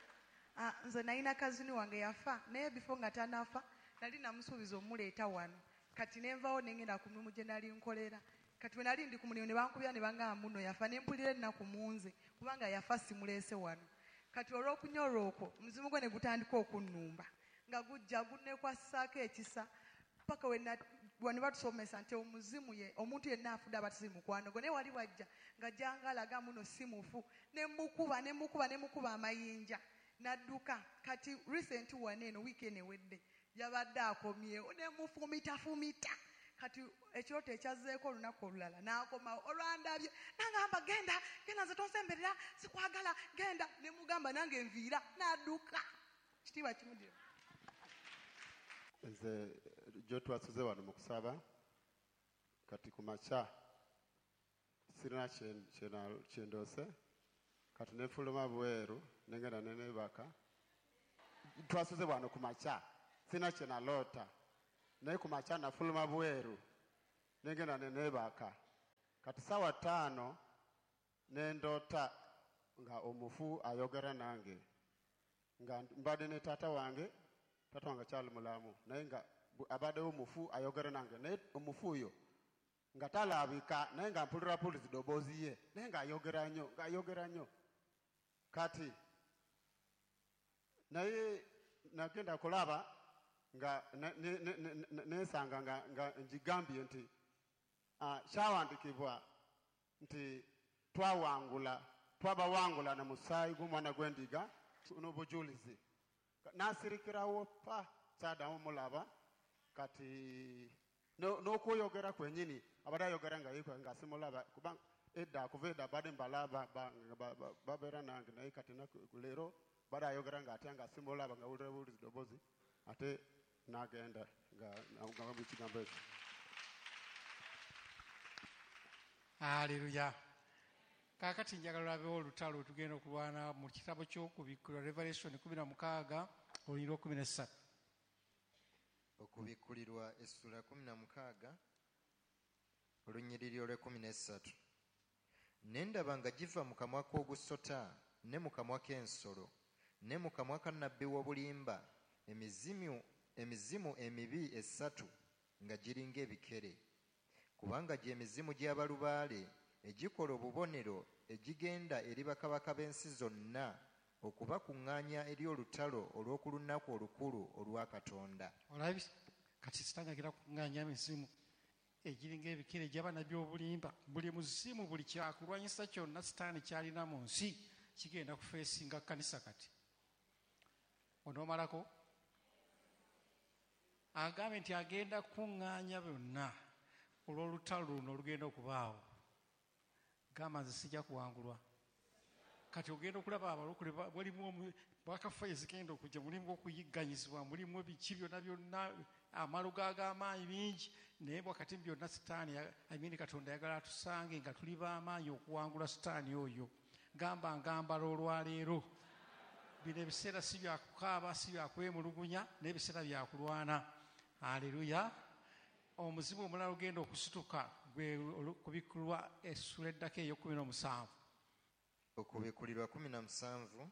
Nze nalina kazini wange yafa, naye before nga tanafa nali namusuubiza omuleeta wano. Kati ne nvaawo ne ngenda ku mulimu gye nali nkolera. Kati bwe nali ndi ku mulimu ne bankubira ne bangamba muno yafa, ne mpulira ennaku mu nze kubanga yafa simuleese wano. Kati olw'okunyola okwo omuzimu gwe ne gutandika okunnumba nga gujja gunneekwasaako ekisa paka we ne batusomesa nti omuzimu ye omuntu yenna afudde aba si mukwano gwe, naye wali wajja nga jangalaga muno si mufu, ne mukuba ne mukuba ne mukuba amayinja n'adduka. Kati recent wano eno wiiki eno ewedde yabadde akomyewo ne mufumitafumita. Kati ekirooto ekyazzeeko olunaku olulala n'akomawo olwandabye n'angamba genda genda, nze tonsemberera sikwagala, genda. Ne mugamba nange nviira, n'adduka. Kitiibwa kimudire. Nze gyo twasuze wano mu kusaba, kati ku makya sirina kye ndoose, kati ne nfuluma bweru ne ngenda ne neebaka. twasuze wano ku makya sina kye naloota naye ku makya nafuluma bweru nengenda ne neebaka kati ssaawa ttaano ne ndoota nga omufu ayogera nange nga mbadde ne taata wange taata wange akyali mulamu naye nga bu- abaddewo omufu ayogera nange naye omufu oyo nga talabika naye nga mpulira pulizi ddoboozi ye naye ng'ayogera nnyo ng'ayogera nnyo kati naye nagenda kulaba nga ne- ne- ne- ne- ne- nesanga nga, nga ngigambye nti ah, kyawandikibwa nti twawangula twabawangula na musaayi gw'omwana gw'endiga n'obujulizi nasirikirawo pa kyaddamu mulaba kati no- n'okweyogera kwennyini abadde ayogera nga yekwe nga simulaba kubanga edda kuva edda badde mbalaba ba- ba- ba- babeera nange naye kati naku- leero badde ayogera nga atya nga simulaba nga wulira buwulizi ddoboozi ate n'agenda nga nga mu kigambo ekyo. Aleluya. Kaakati njagala olabewo olutalo lwe tugenda okulwana mu kitabo ky'Okubikkulirwa, Revelation kumi na mukaaga olunyiriri lw'ekkumi n'essatu. Okubikkulirwa essula kumi na mukaaga olunyiriri olw'ekkumi n'essatu. Ne ndaba nga giva mu kamwa k'ogusota ne mu kamwa k'ensolo ne mu kamwa ka nnabbi w'obulimba emizimu, emizimu emibi esatu nga giringa ebikere, kubanga gye mizimu gy'abalubaale egikola obubonero egigenda eri bakabaka b'ensi zonna okubakuŋŋaanya eri olutalo olw'oku lunaku olukulu olwa Katonda. Olabye kati Sitaani agenda kukuŋŋaanya emizimu egiringa ebikere egy'abannabbi obulimba. Buli muzimu, buli kyakulwanyisa kyonna Sitaani ky'alina mu nsi kigenda kufeesinga kkanisa. Kati onoomalako agambe nti agenda kukuŋŋaanya byonna olw'olutalo luno olugenda okubaawo. Gamba, nze sijja kuwangulwa. Kati ogenda okulaba abalokole ba- mulimu omu- bwakafa ezigenda okujja, mulimu okuyigganyizibwa, mulimu biki byonna byonna, amalogo ag'amaanyi bingi, naye wakati mu byonna Sitaani ya- I mean Katonda ayagala atusange nga tuli b'amaanyi okuwangula Sitaani oyo. Gamba, ngambala olwaleero. Bino ebiseera si byakukaaba, si byakwemulugunya, n'ebiseera byakulwana. Aleluya. Omuzimu omulala ogenda okusituka gwe Okubikkulwa essula eddako ey'okumi n'omusanvu. Okubikkulirwa kumi na musanvu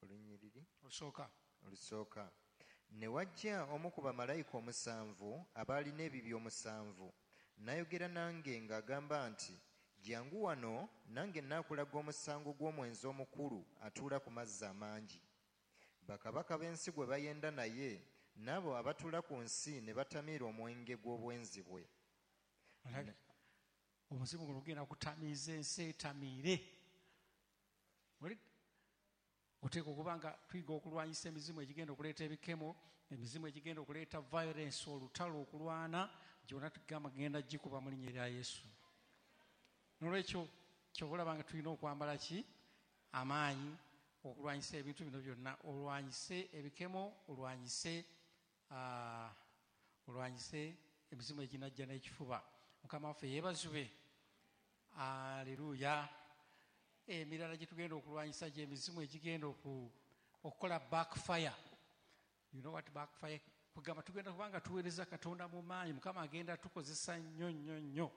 olunyiriri olusooka. Olusooka. Ne wajja omu ku bamalayika omusanvu abaalina ebibya omusanvu n'ayogera nange ng'agamba nti, jjangu wano, nange nnaakulaga omusango gw'omwenzi omukulu atuula ku mazzi amangi, bakabaka b'ensi gwe bayenda naye, n'abo abatuula ku nsi ne batamiira omwenge gw'obwenzi bwe. Olabye? Omuzimu guno gugenda kutamiiza ensi etamiire. Oli- oteeka okuba nga tuyiga okulwanyisa emizimu egigenda okuleeta ebikemo, emizimu egigenda okuleeta violence, olutalo, okulwana gyonna tugamba genda gikuba mu linnya erya Yesu. Nolwekyo kyova olaba nga tulina okwambala ki? Amaanyi okulwanyisa ebintu bino byonna. Olwanyise ebikemo, olwanyise ah, olwanyise emizimu eginajja n'ekifuba. Mukama waffe yeebazibwe. Aleluya. Emirala gye tugenda okulwanyisa gyemizimu egigenda oku- okukola backfire. You know what backfire? Kugamba tugenda kubanga tuweereza Katonda mu maanyi, Mukama agenda tukozesa nnyo nnyo nnyo,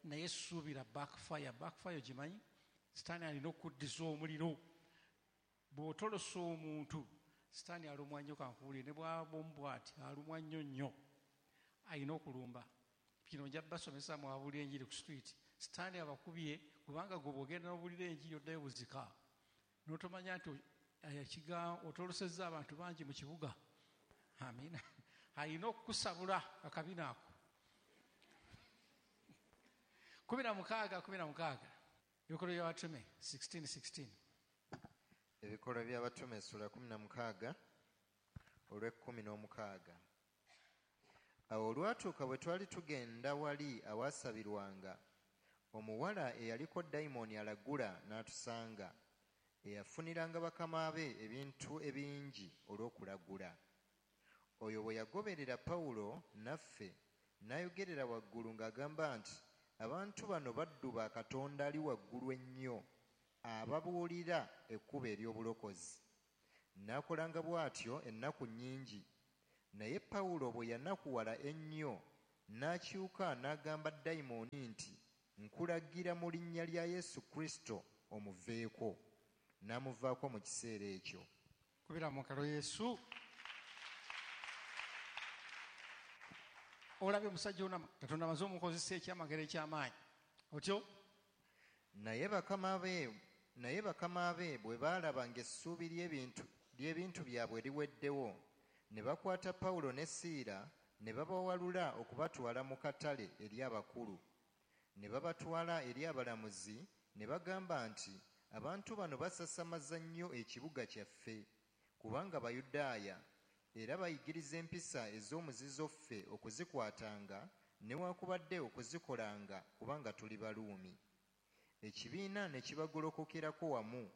naye suubira backfire. Backfire ogimanyi? Sitaani alina okuddiza omuliro. Bw'otolosa omuntu, Sitaani alumwa nnyo. Kankubuulire, ne bwaba omu bw'ati alumwa nnyo nnyo, alina okulumba. Kino nja basomesa mwabulira enjiri ku street. Sitaani abakubye kubanga gwe bw'ogenda n'obulira enjiri oddayo buzika n'otomanya nti ekiga otolosezza abantu bangi mu kibuga. Amiina. Alina okukusabula akabina ako. Kumi na mukaaga kumi na mukaaga, Ebikolwa by'Abatume sixteen sixteen. Ebikolwa by'Abatume essula kumi na mukaaga olw'ekkumi n'omukaaga. Awo olwatuuka bwe twali tugenda wali awaasabirwanga, omuwala eyaliko dayimooni alagula n'atusanga, eyafuniranga bakama be ebintu ebingi olw'okulagula. Oyo bwe yagoberera Pawulo naffe, n'ayogerera waggulu ng'agamba nti, abantu bano baddu ba Katonda ali waggulu ennyo, ababuulira ekkubo ery'obulokozi. N'akolanga bw'atyo ennaku nnyingi. Naye Pawulo bwe yanakuwala ennyo, n'akyuka n'agamba dayimooni nti, nkulagira mu linnya lya Yesu Kristo omuveeko. N'amuvaako mu kiseera ekyo. Kubira mu ngalo Yesu. Olabye omusajja ono Katonda amaze omukozesa ekyamagero eky'amaanyi. Otyo? Naye bakama be, naye bakama be bwe baalaba ng'essuubi ly'ebintu, ly'ebintu byabwe liweddewo, ne bakwata Pawulo ne Siira ne babawalula okubatwala mu katale eri abakulu. Ne babatwala eri abalamuzi ne bagamba nti, abantu bano basasamaza nnyo ekibuga kyaffe, kubanga Bayudaaya, era bayigiriza empisa ez'omuzizo ffe okuzikwatanga newaakubadde okuzikolanga, kubanga tuli Baruumi. Ekibiina ne kibagolokokerako wamu,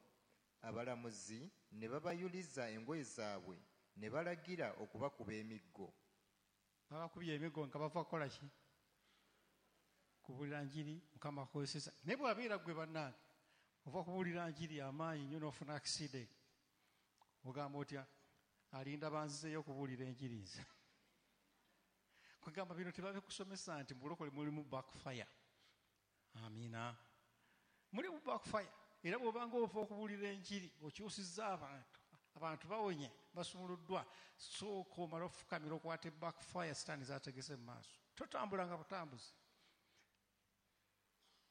abalamuzi ne babayuliza engoye zaabwe ne balagira okubakuba emiggo. Babakubye emiggo nga bava kukola ki? Kubuulira njiri, Mukama akozesa. Naye bw'abeera ggwe bannange, ova kubuulira njiri amaanyi nnyo n'ofuna accident, ogamba otya? Alinda banzizeeyo okubuulira enjiri nze. Kwegamba bino tebabikusomesa nti mu bulokole mulimu backfire. Amiina. Mulimu backfire. Era bw'obanga ova okubuulira enjiri, okyusizza abantu, abantu bawonye, basumuluddwa, sooka omale ofukamira okwate backfire sitaani z'ategese mu maaso. Totambulanga butambuzi.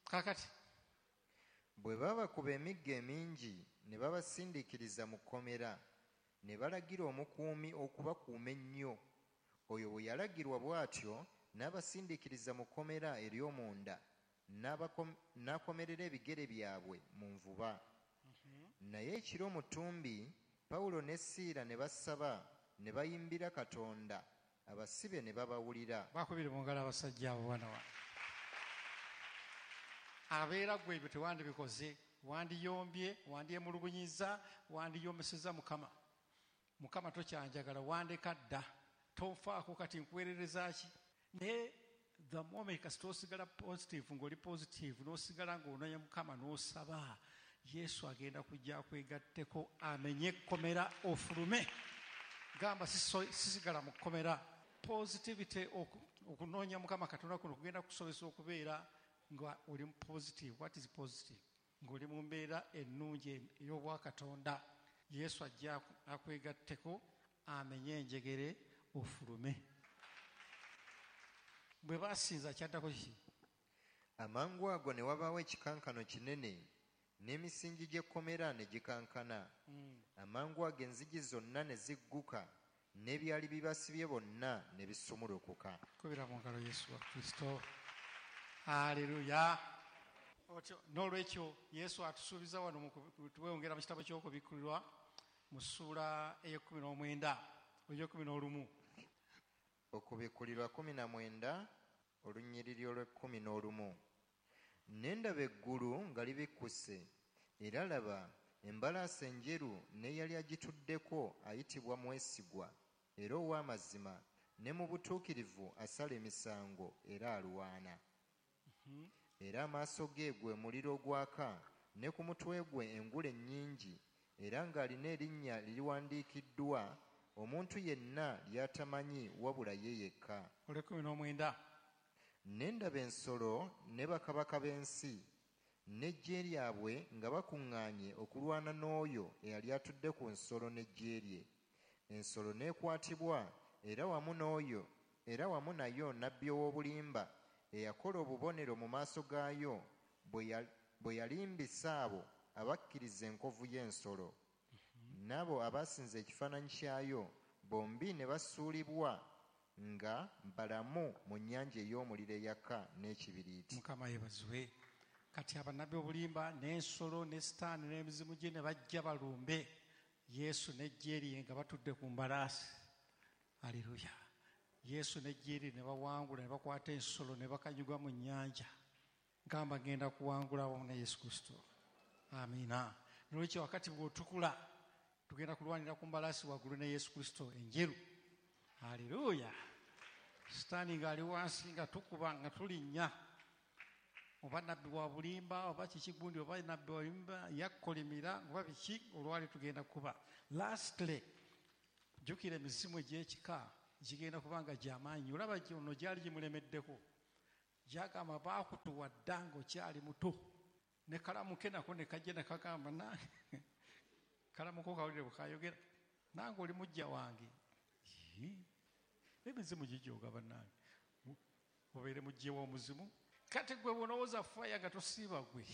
Kaakati bwe babakuba emiggo emingi ne babasindiikiriza mu kkomera, ne balagira omukuumi okubakuuma ennyo. Oyo bwe yalagirwa bw'atyo n'abasindiikiriza mu kkomera ery'omunda, n'akomerera ebigere byabwe mu nvuba. Naye ekiro mu ttumbi, Pawulo ne Siira ne basaba ne bayimbira Katonda, abasibe ne babawulira. Bakubire mu ngalo abasajja abo bana wa. Abeera ggwe ebyo tewandibikoze, wandiyombye, wandyemulugunyizza, wandiyombesezza Mukama. Mukama tokyanjagala, wandeka dda, tonfaako kati nkuweerereza ki? Naye the moment kasita osigala positive, ng'oli positive, n'osigala ng'onoonya Mukama n'osaba, Yesu agenda kujja akwegatteko amenye ekkomera ofulume. Gamba sisigala mu kkomera. Positivity, okunoonya Mukama Katonda kuno kugenda kukusobozesa okubeera nga oli positive. What is positive? Ng'oli mu mbeera ennungi ey'obwakatonda. Yesu ajja akwegatteko amenye enjegere ofulume. Bwe basinza kyaddako ki? Amangu ago ne wabaawo ekikankano kinene, n'emisingi gy'ekkomera ne gikankana. Amangu ago enzigi zonna ne zigguka, n'ebyali bibasibye bonna ne bisumulukuka. Kubira mu ngalo Yesu wa Kristo. Haleluya. Otyo n'olwekyo Yesu atusuubiza wano, tuweyongera mu kitabo ky'Okubikkulirwa mu ssuula ey'ekkumi n'omwenda ey'ekkumi n'olumu. Okubikkulirwa kkumi na mwenda olunyiriri olw'ekkumi n'olumu. Ne ndaba eggulu nga libikkuse, era laba embalaasi enjeru n'eyali agituddeko ayitibwa Mwesigwa era ow'amazima, ne mu butuukirivu asala emisango era alwana. Era amaaso ge gwe muliro ogwaka, ne ku mutwe gwe engule nnyingi, era ng'alina erinnya liriwandiikiddwa omuntu yenna ly'atamanyi wabula ye yekka. Olw'ekkumi n'omwenda. Ne ndaba ensolo ne bakabaka b'ensi n'eggye lyabwe nga bakuŋŋaanye okulwana n'oyo eyali atudde ku nsolo n'eggye lye. Ensolo n'ekwatibwa, era wamu n'oyo era wamu nayo nabbi ow'obulimba eyakola obubonero mu maaso gaayo bwe yalimbisa abo abakkiriza enkovu y'ensolo. N'abo abasinza ekifaananyi kyayo bombi ne basuulibwa nga balamu mu nnyanja ey'omuliro eyaka n'ekibiriiti. Mukama yeebazibwe. Kati abannabbi obulimba n'ensolo ne sitaani n'emizimu gye ne bajja balumbe Yesu n'eggye lye nga batudde ku mbalaasi. Aleluya. Yesu n'eggye lye ne bawangula ne bakwata ensolo ne bakanyugwa mu nnyanja. Gamba ngenda kuwangula wamu ne Yesu Kristo. Amiina. N'olwekyo wakati bw'otukula tugenda kulwanira ku mbalaasi waggulu ne Yesu Kristo enjeru. Aleluya. Sitaani ng'ali wansi nga tukuba nga tulinnya. Oba nabbi wa bulimba oba kiki gundi oba nabbi wa bulimba yakkolimira oba biki olwali tugenda kuba. Lastly, jjukira emizimu egy'ekika gigenda kuba nga gy'amaanyi. Olaba ono gyali gimulemeddeko. Gyagamba baakutuwa dda ng'okyali muto. Ne kalamu ke nako ne kajja ne kagamba nange kalamu ko kawulire bwe kayogera nange oli mujja wange. Emizimu gijooga bannange. Obeere mujje w'omuzimu. Kati gwe bw'olowooza faya nga tosiiba gwe.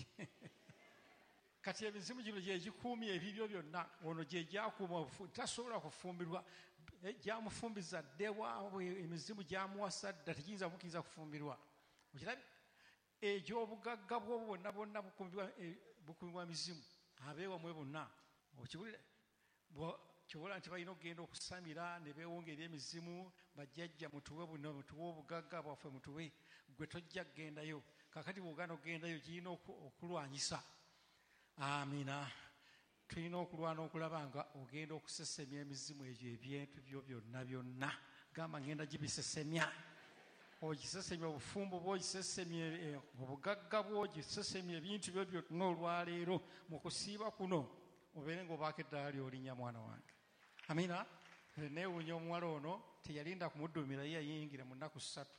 Kati emizimu gino gye gikuumye ebibyo byonna, ono gye gyakuuma tasobola kufumbirwa, gyamufumbiza dda ewaabwe, emizimu gyamuwasa dda, tegiyinza kumukkiriza kufumbirwa. Okirabye? Egy'obugagga bwo bwonna bwonna bukuumibwa mizimu, abeewamwe bonna. Okiwulira? Kyobola nti balina okugenda okusamira ne beewonga eri emizimu, bajjajja mutuwe buno, mutuwe obugagga bwaffe mutuwe, gwe tojja kugendayo. Kaakati bw'ogaana okugendayo girina okulwanyisa. Amiina. Tulina okulwana okulaba nga ogenda okusesemya emizimu egyo ebintu byo byonna byonna. Gamba ngenda gibisesemya. Ogisesemya obufumbo bwo, ogisesemya obugagga bwo, ogisesemya ebintu byo byonna olwaleero mu kusiiba kuno obeere ng'obaako eddaala ly'olinnya mwana wange. Amiina. Neewuunya omuwala ono teyalinda kumuddumira, ye yayingira mu nnaku ssatu.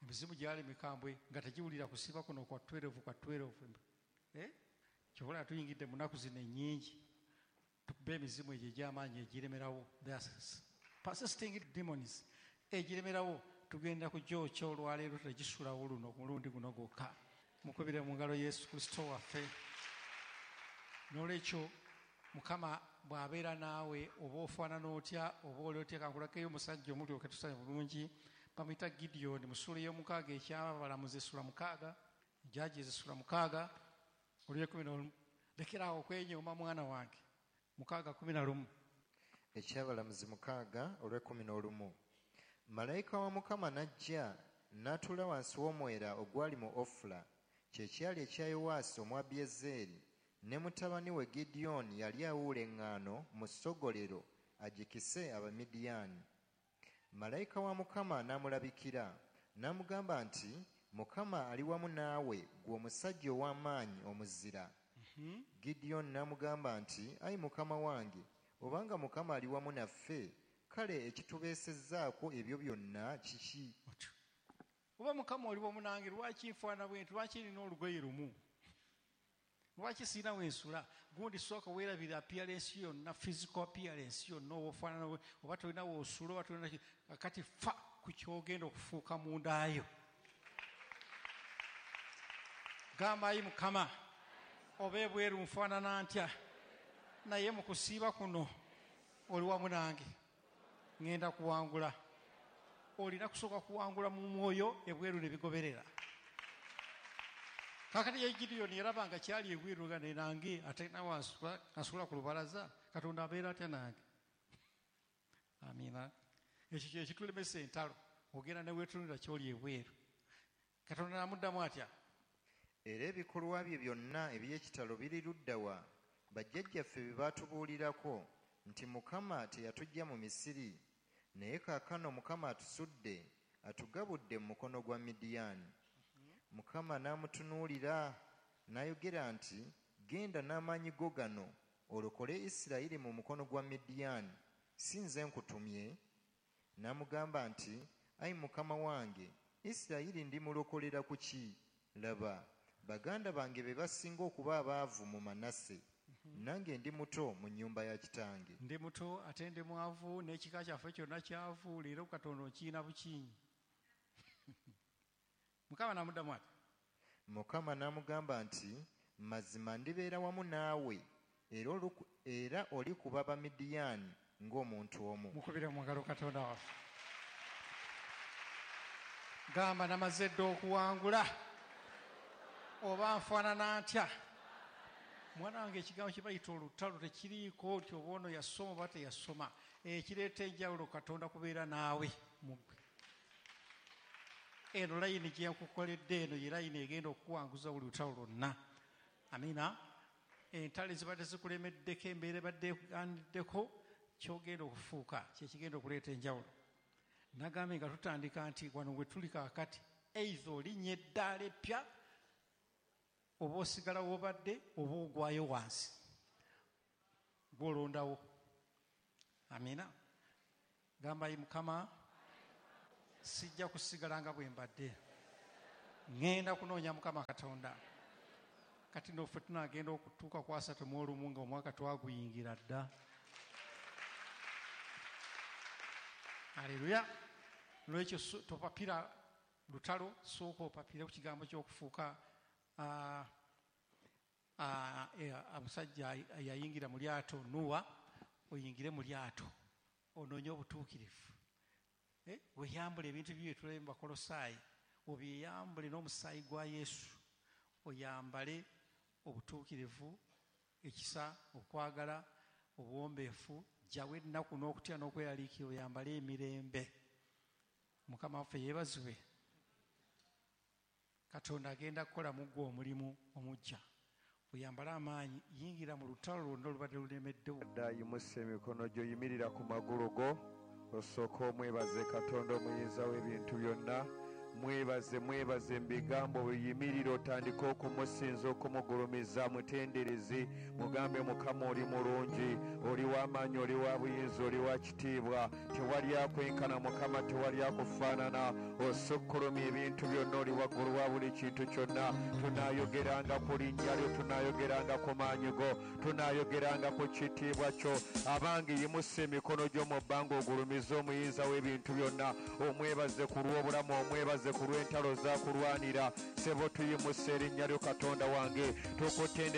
Emizimu gyali mikambwe nga tegiwulira kusiiba kuno kwa twelve kwa twelve. Eh? Kyobola tuyingidde mu nnaku zino ennyingi tukube emizimu egyo egy'amaanyi egiremerawo. Persisting demons egiremerawo tugenda kugyokya olwaleero tegisulawo luno mulundi guno gwokka. Mukubire mu ngalo Yesu Kristo waffe. N'olwekyo Mukama bw'abeera naawe oba ofaanana otya oba oli otya, kankulakeyo omusajja omulyoke tusanye bulungi bamuyita Gideon mu ssuula ey'omukaaga eky'Abalamuzi essula mukaaga, Judges essula mukaaga olw'ekumi n'olumu. Lekeraawo okwenyooma mwana wange. Mukaaga kumi na lumu. Eky'Abalamuzi mukaaga olw'ekumi n'olumu. Malayika wa Mukama n'ajja n'atuula wansi w'omwera ogwali mu Ofula, kye kyali ekya Yowaasi Omwabiyezeeri, ne mutabani we Gidyoni yali awuula eŋŋaano mu ssogolero agikise Abamidiyaani. Malayika wa Mukama n'amulabikira n'amugamba nti, Mukama ali wamu naawe ggwe omusajja ow'amaanyi omuzira. Gidyoni n'amugamba nti, ayi Mukama wange, obanga Mukama ali wamu naffe, kale ekitubeesezzaako ebyo byonna kiki? Oba Mukama oli wamu nange, lwaki nfaanana bwe nti? Lwaki nina olugoye lumu? Lwaki sirina we nsula? Gundi sooka weerabira appearance yonna, physical appearance yonna, oba ofaanana oba tolina w'osula oba tolina kati fa ku ky'ogenda okufuuka mundaayo. Gamba ayi Mukama, oba ebweru nfaanana ntya, naye mu kusiiba kuno oli wamu nange, ŋŋenda kuwangula. Olina kusooka kuwangula mu mwoyo, ebweru ne bigoberera. Kaakati ye Gideon yalaba nga kyali ebweru nga ne nange ate nawe asula ku lubalaza, Katonda abeera atya nange? Amiina. Ekyo kye kitulemesa entalo, ogenda ne weetunulira ky'oli ebweru. Katonda n'amuddamu atya? Era ebikolwa bye byonna eby'ekitalo biri ludda wa? Bajjajjaffe bye baatubuulirako nti Mukama teyatuggya mu Misiri, naye kaakano Mukama atusudde, atugabudde mu mukono gwa Midiyaani. Mukama n'amutunuulira n'ayogera nti, genda n'amaanyi go gano olokole Isirayiri mu mukono gwa Midiyaani, si nze nkutumye? N'amugamba nti, ayi Mukama wange, Isirayiri ndimulokolera ku ki? Laba, baganda bange be basinga okuba abaavu mu Manase, nange ndi muto mu nnyumba ya kitange. Ndi muto ate ndi mwavu, n'ekika kyaffe kyonna kyavu, leero Katonda okiina bukiinyi. Mukama n'amuddamu ati? Mukama n'amugamba nti, mazima ndibeera wamu naawe, era olikuba Abamidiyaani ng'omuntu omu. Mukubire mu ngalo Katonda waffe. Gamba namaze dda okuwangula, oba nfaanana ntya? Mwana wange ekigambo kye bayita olutalo tekiriiko nti oba ono yasoma oba teyasoma. Ekireeta enjawulo Katonda kubeera naawe mu ggwe. Eno layini gye nkukoledde eno ye layini egenda okukuwanguza buli lutalo lwonna. Amiina. Entalo ezibadde zikulemeddeko, embeera ebadde ekugaaniddeko, ky'ogenda okufuuka kye kigenda okuleeta enjawulo. Nagambye nga tutandika nti wano we tuli kaakati, either olinnya eddaala eppya Oba osigala w'obadde oba ogwayo wansi, gw'olondawo. Amiina. Gamba, "Ayi Mukama, sijja kusigala nga bwe mbadde, ŋŋenda kunoonya Mukama Katonda." Kati nno ffe tunaagenda okutuuka ku asatu mu olumu nga omwaka twaguyingira dda. Aleluya. Lwekyo topapira lutalo, sooka opapire ku kigambo ky'okufuuka omusajja yayingira mu lyato Nuwa, oyingire mu lyato onoonye obutuukirivu. Weeyambule ebintu byo byetulabye mu Bakolosaayi, obyeyambule n'omusaayi gwa Yesu, oyambale obutuukirivu, ekisa, okwagala, obuwombeefu, jjawo ennaku n'okutya n'okweraliikirira, oyambale emirembe. Mukama waffe yeebazibwe. Katonda agenda kukola mu ggwe omulimu omuggya. Oyambale amaanyi, yingira mu lutalo lwonna olubadde lulemeddewo. Dda yimusa emikono gyo, yimirira ku magulu go, osooke omwebaze Katonda omuyinza w'ebintu byonna. Mwebaze, mwebaze mu bigambo, bweyimirira otandike okumusinza, okumugulumiza, mutendereze, mugambe Mukama oli mulungi, oli w'amaanyi, oli wa buyinza, oli wa kitiibwa, tewali akwenkana Mukama, tewali akufaanana, osukkulumya ebintu byonna, oli waggulu wa buli kintu kyonna. Tunaayogeranga ku linnya lyo, tunaayogeranga ku maanyi go, tunaayogeranga ku kitiibwa kyo. Abange yimusa emikono gyo mu bbanga ogulumize omuyinza w'ebintu byonna, omwebaze ku lw'obulamu, omwebaze ku lw'entalo z'akulwanira. Ssebo tuyimusa erinnya lyo Katonda wange, tukutendere.